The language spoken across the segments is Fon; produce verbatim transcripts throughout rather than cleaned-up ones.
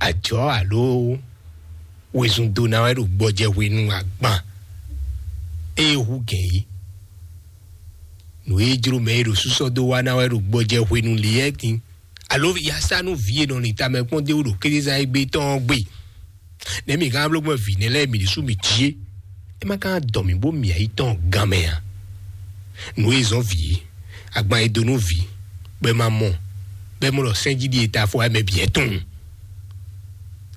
Ajɔ̌ alo wezun dó ná wɛ ɖo gbɔjɛ hwenu agban ée hú gɛ̌n é. Nǔ e jló mɛ e ɖo súsɔ́ dó wá ná wɛ ɖo gbɔjɛ hwenu lě ɛ din. Alo ya sá nú vǐ e nɔ lin tamɛ kpɔ́n dó ɖo kézezán égbé tɔn ɔ́ gbe. Nɛ̌ mi gán bló gbɔn vǐ nɛ́ lɛ́ɛ mi ɖésú mi jí é? É má ka dɔ mǐ bó mì ayǐ tɔn gan mɛ a? Nǔ e zɔ́n vǐ, agban e dó nú vǐ, bɔ é ma mɔ, bɔ é mɔ ɖɔ sɛ́n jí ɖíe ta fɔ wɛ mɛ bǐ ɛ tunwun.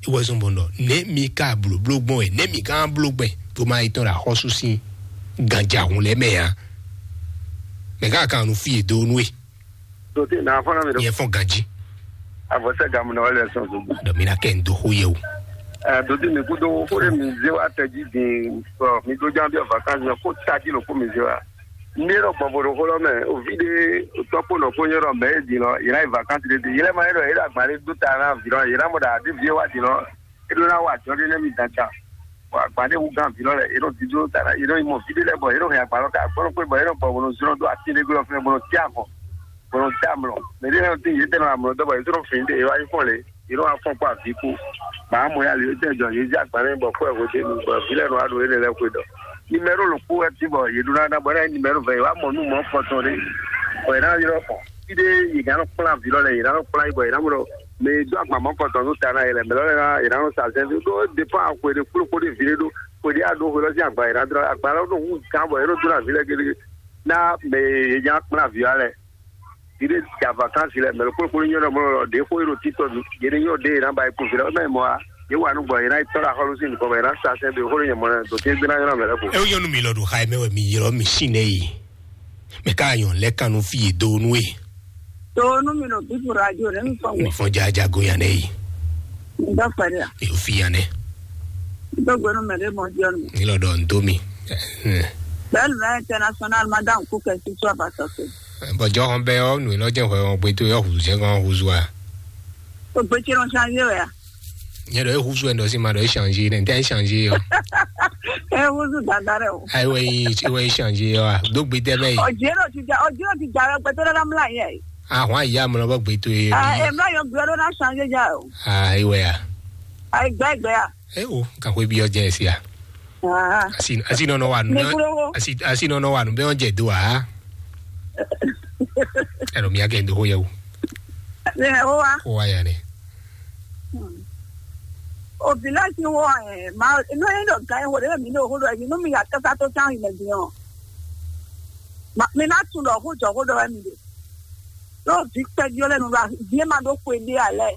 É wɛ zɔ́n bɔ ɖɔ nɛ̌ mi ka blǒbló gbɔn wɛ, nɛ̌ mi ka bló gbɛn bó ma yi tɔn ɖo axɔ́sú sín ganjahun lɛ́ɛ mɛ a? Mɛ ká kan nu fí e dó nú e. Dotí nà fɔ́n mi ɖo. Yɛ fɔn ganji. Avɔsɛ gamu na wale sɔn so. Dɔ mi na kɛ n do xó yɛ o. Ɛ dotí mi kú dó xó ɖé mi zé wa tɛ jí din. Ɔ mi dó jan bí ɔ vacances mɛ kó tají ló kó mi zé wa. Ní ɖɔ gbɔn vodó xó lɔ mɛ o vi ɖé tɔkpó nɔ kó nyɔ́ ɖɔ mɛ é din lɔ yìí ná yi vacances ɖé din yìí lɛ ma é ɖɔ yìí ɖo agba ɖé dó ta ná vi lɔ yìí ná mɔ ɖa ɖé vi wa din lɔ é ɖó ná wa jɔ ɖé nɛ mi dan ta. Bɔ agba ɖé wú gán vǐ lɔ lɛ yě nɔ dídó ta yě nɔ yi mɔ vǐ ɖé lɛ́ɛ bɔ yě nɔ hɛn agba lɔ ká gbɔn kpé bɔ yě nɔ gbɔ bó nɔ zlɔ́ dó atín ɖé glɔ́ fínɛ́ bó nɔ tí avɔ bó nɔ tí amlɔ. Mɛ ɖé lɛ́ɛ nɔ tín yě tɛ́ nɔ amlɔ dó bɔ yě tó nɔ fin ɖé yě wá yi fɔ́n lě yě nɔ wá fɔ́n kpó avǐ kú. Màá mɔ yá lě tɛ́ jɔ yě zí agba nɛ́ bɔ kú ɛ hwedé nu bɔ vǐ lɛ́ɛ nɔ wá ɖo yě lɛ lɛ́ɛ xwe ɖɔ. Nimɛ́ro lɔ̌kpó wɛ tín bɔ yě ɖó ná ná bɔ é ná nyí nimɛ́ro vɛ yě wá mɔ nú mɔ̌ kɔtɔn ɖé bɔ yě ná ylɔ́ xɔ. Fí ɖé yě ná nɔ kplán vǐ lɔ lɛ́ɛ yě ná nɔ kplán yi bɔ yě ná mɔ ɖɔ mɛ e dó agba mɔ̌ kɔtɔn nú ta ná yɛ lɛ mɛ lɔ lɛ́ɛ ná yě ná nɔ sa zɛ́n dó dépend axwe ɖé kplókpó ɖé vǐ ɖé ɖó xwe ɖé a ɖó xwe lɔ sín agba yě ná dlɔ́ agba lɔ ɖo hú gán bɔ yě ɖo dó ná vǐ lɛ́ɛ gégé ná mɛ e yě nya kplán vǐ wa lɛ́ɛ vǐ ɖé ja vacances lɛ mɛ lɔ kplókpó nyɔ́ ɖɔ mɔ lɔ ɖě xó yé ɖo títɔ yě ní nyɔ́ ɖé yě ná ba yi kú vǐ lɔ mɛ mɔ a yě wà nú gbɔ yě ná yi tɔ́ ɖo axɔ́lú sín nukɔn bɔ yě ná sa sɛ́n dó xó ɖé nyɛ mɔ ɖo té gbé ná nyɔ́ ná mɛ lɛ́ɛ ko. Eo nyɔnu mi lɔ ɖo xa mɛ wɛ mi ylɔ́ mi sín nɛ yi. Mɛ ká nyɔ lɛ kanu fi e do nu e. Do nu mi ɖo bibu radio ɖe mi fɔ mi wɔ. Fɔ jaja go yan nɛ yi. Mi dɔ fɛ de a. Mi fi yan nɛ. Mi dɔ gbɛnu mɛ de mɔ diɔ nu. Mi lɔ dɔ n do mi. Bɛlu na international madame kukɛ si sɔ ba sɔ se. Bɔjɔ hɔn bɛ ɔ nu lɔ jɛ hwɛ ɔ gbe to yɔ hu jɛ gan hu zua. O gbe tsi nɔ change wɛ a. Nyɛ ɖɔ ehuzu ɛn dɔ si ma ɖɔ echange nɛ ntɛ echange yɔ. Ehuzu dada rɛ o. Ayi wɛ yi wɛ echange yɔ a do gbe tɛ bɛ yi. Ɔdzi ɖo ti dza ɔdzi ɖo ti dza rɛ gbɛtɔ ɖe la mla yɛ. Ahɔn ayi amlɔ bɔ gbe to ye. Aa emla yɔ gbe ɖo na change dza o. Aa ewɛ ya. Ayi gbɛ gbɛ ya. Ewo kakwe bi ɔdze esi ya. Aa Asi asi nɔnɔ wa nu. Ne kúrò wo. Asi asi nɔnɔ wa nu bɛ ɔdze do a. Ɛlɔ mi akɛ do ho yɛ wo. Ne wo wa. Ko wa ya ne. Obìnrin ti wọ ẹ máa inú ẹni dọ̀ gan ẹ̀wọ̀n rẹ̀ mi ní òhúrò ẹ̀yìn inú mi yà kẹta tó sáhìn lẹ̀ gbìn ọ́. Mi náà tún lọ hó jọ hó dọ̀ ẹ̀mí rẹ̀. Yóò bí pẹ́jú lẹ́nu ra bí ẹ máa dó kó edé alẹ́.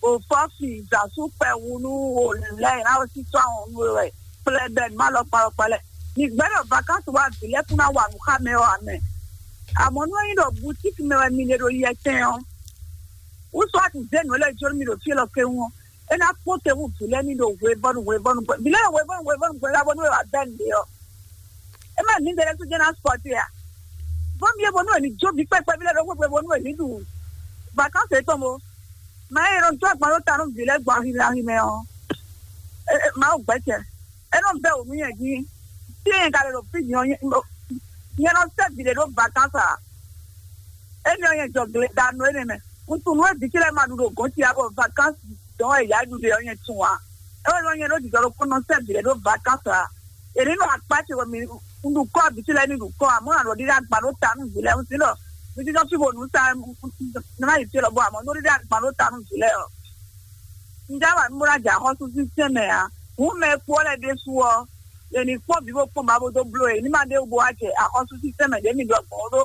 Òfò fi ìzàsú pẹ̀ wúnú òlùlẹ́ ìnáwó sí tó àwọn ọmọ rẹ̀. Pẹlẹbẹ má lọ parọpẹlẹ. Nígbẹ́ náà vacances wà bí lẹ́kún náà wà nù ká mẹ́ ọ́ àmẹ́. Àmọ́ ní wọ́n yín dọ̀ boutique mẹ́ wẹ́ mi lè ɖo yɛ tẹ́ ọ́. Wúsọ àti zéènù ẹlẹ́jọ́ mi ɖo fí lɔ kéwọ́n. É ná kpɔ́n te wú vǐ lɛ́ɛ ní ɖo hwevɔ́nu hwevɔ́nu gbɛ. Vǐ lɛ́ɛ ɖo hwevɔ́nu hwevɔ́nu gbɛ lá bónú é wǎ bɛ́ nǔɖé ɔ́. É má ní ɖe lɛ́ɛ sú jẹ́ ná sɔ́ te a. Vɔ́n mi é bónú è ní jó vǐ kpɛkpɛ vǐ lɛ́ɛ ɖo xwé bónú è ní ɖu vacances tɔn mo. Mɛ é nɔ dó agban ɖó ta nú vǐ lɛ́ɛ gbɔn ahi mɛ ahi mɛ ɔ́. Mawu gbɛ́ cɛ. É nɔ bɛ́ wǔ nú nyɛ jí. Tí nyɛ ka lɛ ɖo fí din ɔ́, nyɛ nɔ sɛ́ vǐ ɖé ɖó vacances a? Énɛ́ ɔ́, nyɛ jɔ gle da nú énɛ́ mɛ. Un tunwun nú é vǐ ce lɛ́ɛ ma ɖu ɖo gɔ̌n ce ǎ, bɔ vacances dɔn wɛ yǎ ɖu ɖe ɔ́, nyɛ tunwun ǎ. É wɛ nyɛ ɖó jijɔ ɖokpó nɔ sɛ́ vǐ lɛ́ɛ ɖó vacances ǎ. È ní nɔ akpá ce wɛ mi un ɖu kɔ́ vǐ ce lɛ́ɛ ní ɖu kɔ́ ǎ, mɔ̌ nǎ ɖɔ ɖíɖá gban ɖó ta nú vǐ lɛ́ɛ. Un sin ɖɔ mi jínjɔ́n fí bo nǔ sa nɔ ná yi fí lɔ bɔ amɔ̌ ɖó ɖíɖá gban ɖó ta nú vǐ lɛ́ɛ ɔ́. Un já wa nú bó ná jɛ axɔ́súzinkɛ́n mɛ ǎ. Hǔn mɛ e kú ɔ́ lɛ́ɛ ɖésú ɔ́, è nǐ kpɔ́n vǐ bó kpɔ́n ba bó dó bló e ní ma ɖe wú bó wá jɛ axɔ́súzinkɛ́n mɛ ɖě mi ɖɔ gbɔn ó ɖó.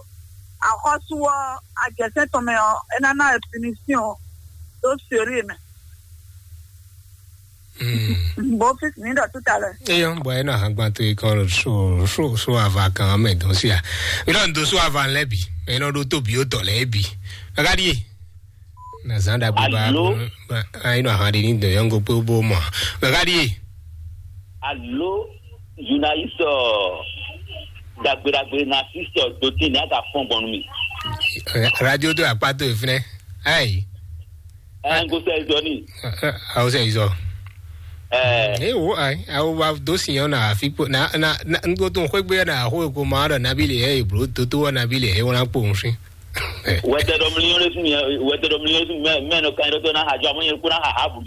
Axɔ́sú ɔ́, ajɛsɛ́n tɔn mɛ ɔ́, é ná ná ɛ punition ɖó sérieux mɛ. Bó fífi ní ɖɔ tout à l'heure. Eyɔ bɔ ena hagban to ikɔn so so so ava kan mɛ dɔn sia. Mi nɔ do so ava lɛ bi. Mi nɔ do to bi o tɔ lɛ bi. Agadi. Na zan da gbe ba. Alo. Ayi nɔ ahan de ni do yɔngo pe bo mɔ. Agadi. Alo. Journaliste dagbe dagbe na sister do ti ni aga fɔn gbɔn mi. Radio do akpa to efine. Ayi. Ɛ n ko sɛ zɔ ni. Awo sɛ zɔ. Ɛ. Ee wo ayi awo wa do si yɔn na afi kpo na na na n ko to n xwegbe na axo ko ma ɖɔ nabi le ɛ eblo toto wɔ nabi le ɛ wɔna kpo n si. Wɛtɛ dɔ mliyɔn le sun yɛ wɛtɛ dɔ mliyɔn le sun mɛ mɛ nɔ kan yɛ dɔ na hajɔ amɔ yɛ ko na ha ha bu.